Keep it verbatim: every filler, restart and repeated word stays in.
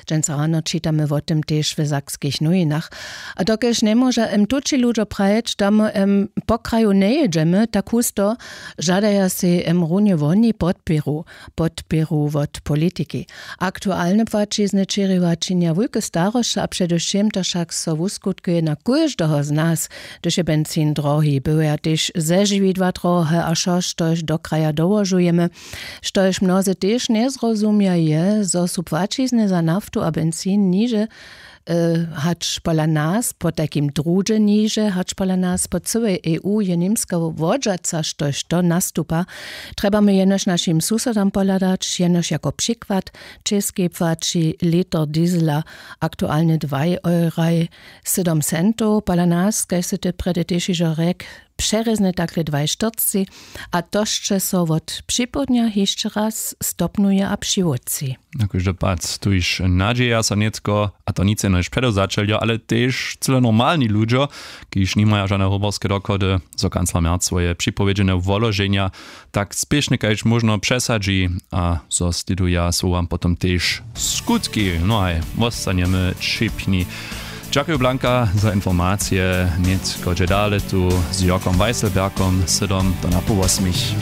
Dźensa rano čitamy wo tym tež w sakskich nowinach. A dokelž njemóža em tući ludźo prajeć, da my em po kraju njejědźemy, tak husto žadaja sej em runje woni podpěru, podpěru wot politiki. Aktualne płaćizny čěriwa činja wulke starosće a předewšěm to wšak so wuskutkuje na kóždeho z nas, hdyž je benzin drohi, bywaja tež zežiwidła drohe a wšo štož do kraja dołožujemy. Štož mnozy tež njezrozumja je, zo su płaćizny za naftu a benzin niže, hač pola nas, potajkim druhdźe niže hač pola nas, po cyłej eu je němska wodźaca štož to nastupa. Trjebamy jenož našim susodam pohladać, jenož jako přikład, w českej płaći liter diesela aktualnje dwaj euraj sydom centow, pola nas kaž sy ty prjedy tež hižo rjek, přerězne takle dwaj štyrcci. A to sće so wot připołdnja hišće raz stopnuje a přiwótři. Na kóždy pad tuž nadźeja so nětko, a to nic jenož předewzaćeljo ale tež cyle normalni ludźo, kiž nimaja žane hoborske dochody, zo kancler merc swoje připowědźene woloženja tak spěšnje kaž móžno přesadźi, a zo sliduja słowam potom tež skutki. No haj, wostanjemy ćěpni. Dźakuju blanka za informacije. Nětko dźe dale tu z jorkom weisselbergom sydom do na pół wosmich.